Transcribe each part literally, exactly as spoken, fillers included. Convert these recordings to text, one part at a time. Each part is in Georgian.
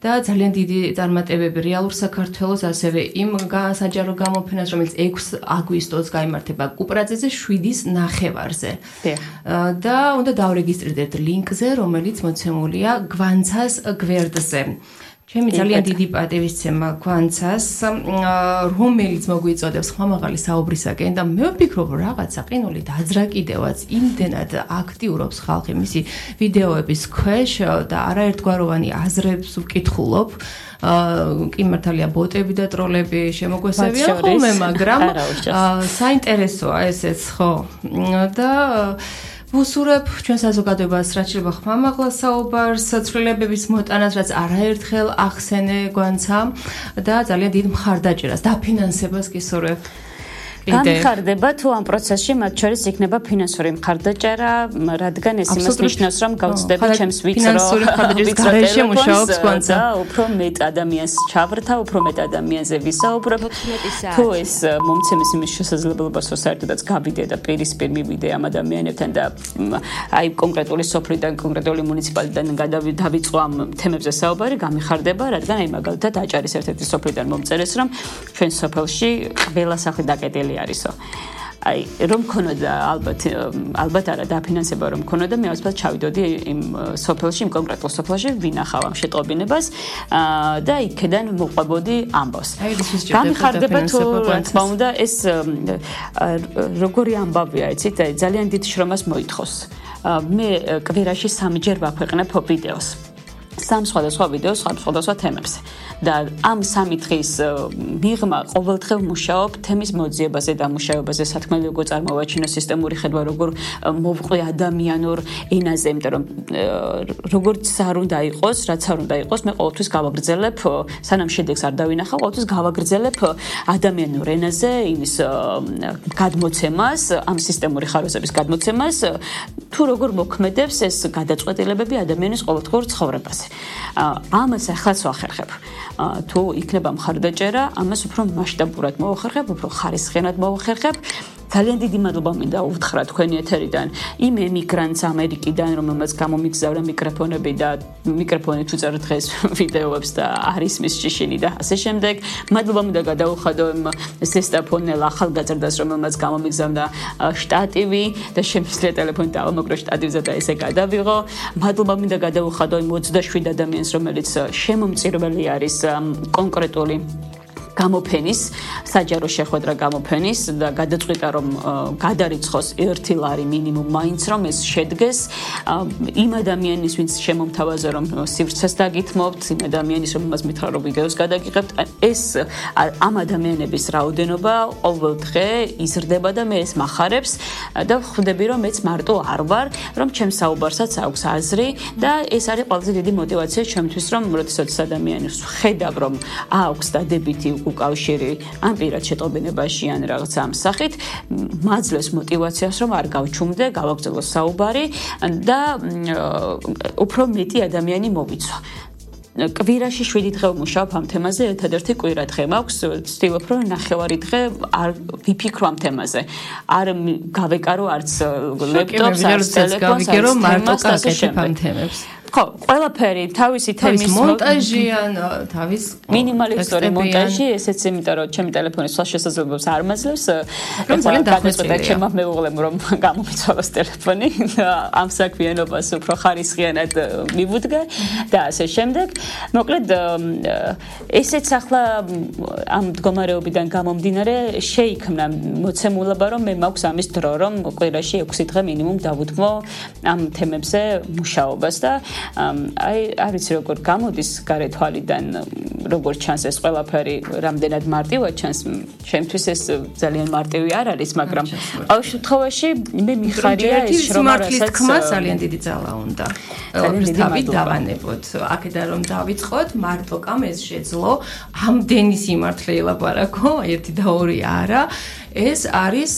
და ძალიან დიდი წარმატებები რეალურ საქართველოს, ასევე იმ საჯარო გამოფენას, რომელიც ექვსი აგვისტოს გაიმართება კუპრაძეზე შვიდის ნახევარზე. და უნდა დავრეგისტრირდეთ ლინკზე, რომელიც მოცემულია გვანცას გვერდზე. ჩემი ძალიან დიდი პატივისცემა გვანცას, რომელიც მოგვიწოდებს ხმამაღალი საუბრისაკენ და მე ვფიქრობ რაღაცა ყინული დაძრა კიდევაც იმდენად აქტიურობს ხალხი მისი ვიდეოების ქვეშ და არაერთგვაროვანი აზრებს ვკითხულობ. კი მართალია ბოტები და ტროლები შემოგვესევიან ხოლმე, მაგრამ საინტერესოა ესეც, ხო. და ვუსურებ ჩვენ საზოგადოებას, რაც შეიძლება ხმამაღლა საუბარს, ცვლილებების მოტანას, რაც არაერთხელ ახსენე გვანცა და ძალიან დიდ მხარდაჭერას, დაფინანსებას გისურვებ. განხარდება თუ ამ პროცესში მათ შორის იქნება ფინანსური მხარდაჭერა, რადგან ეს იმას ნიშნავს, რომ გავწდები ჩემს ვიწრო ტელეფონს და უფრო მეტ ადამიანს ჩავრთა, უფრო მეტ ადამიანზე ვისაუბრებ. თუ ეს მომცემს იმის შესაძლებლობას, რომ საერთოდაც გავიდე და პირისპირ მივიდე ამ ადამიანებთან და აი კონკრეტული სოფლიდან, კონკრეტული მუნიციპალიტეტიდან დავიწყო ამ თემებზე საუბარი, გამიხარდება, რადგან აი მაგალითად აჭარის ერთ-ერთი სოფლიდან მომწერეს, რომ ჩვენ სოფელში ყველა სახლი დაკეტილი არისო. აი რომ ქონოდა ალბათ ალბათ არა დაფინანსება რომ ქონოდა მე ვასფალ ჩავიდოდი იმ სოფელში იმ კონკრეტულ სოფელში ვინახავ ამ შეტყობინებას და იქიდან მოყვებოდი ამბავს. გამიხარდება თუ რა თქმა უნდა ეს როგორი ამბავია იცით აი ძალიან დიდ შრომას მოითხოვს. მე კვირაში სამჯერ ვაქვეყნებ ვიდეოს. სამ სხვადასხვა ვიდეოს სხვადასხვა თემებზე და ამ სამი დღის მიღმა ყოველდღე მუშაობ თემის მოძიებაზე და მუშაობაზე სათქმელი როგორ წარმოვაჩინო სისტემური ხედვა როგორ მოვყვე ადამიანურ ენაზე იმიტომ რომ როგორც არ უნდა იყოს რაც არ უნდა იყოს მე ყოველთვის გავაგრძელებ სანამ შედეგს არ დავინახავ ყოველთვის გავაგრძელებ ადამიანურ ენაზე იმის გადმოცემას ამ სისტემური ხარვეზების გადმოცემას თუ როგორ მოქმედებს ეს გადაწყვეტილებები ადამიანის ყოველდღიურ ცხოვრებაზე. ამას ახალს ვახერხებ. თუ იქნება მხარდაჭერა, ამას უფრო მასშტაბურად მოვახერხებ, უფრო ხარისხიანად მოვახერხებ. ძალიან დიდი მადლობა მინდა უთხრა თქვენი ეთერიდან იმ ემიგრანტს ამერიკიდან, რომელმაც გამომიგზავრა მიკროფონები და მიკროფონი თუ წერ დღეს ვიდეოებს და არის მის ჭიშინი და ასე შემდეგ. მადლობა მინდა გადაუხადო იმ ზესტაფონელ ახალგაზრდას, რომელმაც გამომიგზავნა შტატივი და შემიძლია ტელეფონი დავამოკრო შტატივზე და ესე გადავიღო. მადლობა მინდა გადაუხადო იმ ოცდაშვიდ ადამიანს, რომელიც შემომწირველი არის კონკრეტული გამოფენის, საჯარო შეხვედრა გამოფენის და გადაწყვიტა რომ გადარიცხოს ერთი ლარი მინიმუმ მაინც რომ ეს შედგეს იმ ადამიანის ვინც შემომთავაზა რომ სივრცეს დაგითმობთ, იმ ადამიანის რომელმაც მითხრა რომ ვიდეოს გადაგიღებთ, ეს ამ ადამიანების რაოდენობა ყოველ დღე იზრდება და მე ეს მახარებს და ხვდები რომ მეც მარტო არ ვარ, რომ ჩემს საუბარსაც აქვს აზრი და ეს არის ყველაზე დიდი мотиваცია ჩემთვის რომ როდესაც ადამიანს ხედავ რომ აქვს დადებითი უკავშირი ამ პირად შეტყობინებაში ან რაღაც ამ სახით მაძლევს мотиваციას რომ არ გავჩუმდე, გავაგრძელო საუბარი და უფრო მეტი ადამიანი მოვიცვა. კვირაში შვიდი დღე ვმუშაობ ამ თემაზე, ერთადერთი კვირა დღე მაქვს, ვცდილობ რომ ნახევარი დღე არ ვიფიქრო ამ თემაზე. არ გავეკარო არც ლეპტოპს, არც ტელეფონს, გავიგერო მარტო კაკეთებ ამ თემებს. ხო, ყველაფერი თავისი თემის მონტაჟი ან თავის მინიმალისტური მონტაჟი, ესეც იმიტომ რომ ჩემი ტელეფონის სხვა შესაძლებლობებს არ მაძლევს. ძალიან დახვეწილი ჩემმა მეუღლემ რომ გამომიცვალოს ტელეფონი ამ საქმიანობას უფრო ხარისხიანად მივუდგა და ასე შემდეგ. მოკლედ ესეც ახლა ამ მდგომარეობიდან გამომდინარე შეიქმნა მოცემულობა რომ მე მაქვს ამის დრო რომ კვირაში ექვსი დღე მინიმუმ დავუთმო ამ თემებზე მუშაობას და აი არ ვიცი როგორ გამოდის გარე თვალიდან როგორ ჩანს ეს ყველაფერი რამდენად მარტივად ჩანს ჩემთვის ეს ძალიან მარტივი არ არის მაგრამ ყოველ შემთხვევაში მე მიხარია ეს რომ რასაც თქმა ძალიან დიდი ძალა უნდა თავი დავანებოთ აქედან რომ დავიწყოთ მარტო კამეს შეძლო ამდენი სიმართლე ელაპარაკო ერთი და ორი არა ეს არის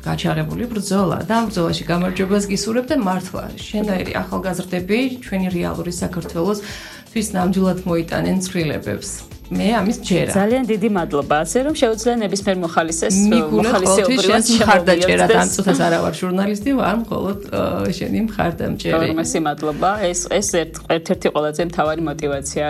გაჩაღებული ბრძოლა და ამ ბრძოლაში გამარჯვებას გისურვებ და მართლა შენაირი ახალგაზრდები ჩვენი რეალური საქართველოს თვის ნამდვილად მოიტანენ ცვლილებებს. მე ამის ჯერა. ძალიან დიდი მადლობა. ასე რომ შეუძლია ნებისმიერ მოხალისეს მოხალისეობრივად მხარდაჭერა და ამ წუთას არა ვარ ჟურნალისტი, ვარ მხოლოდ შენი მხარდამჭერი. მადლობა. ეს ეს ერთ-ერთი ყველაზე მთავარი мотиваცია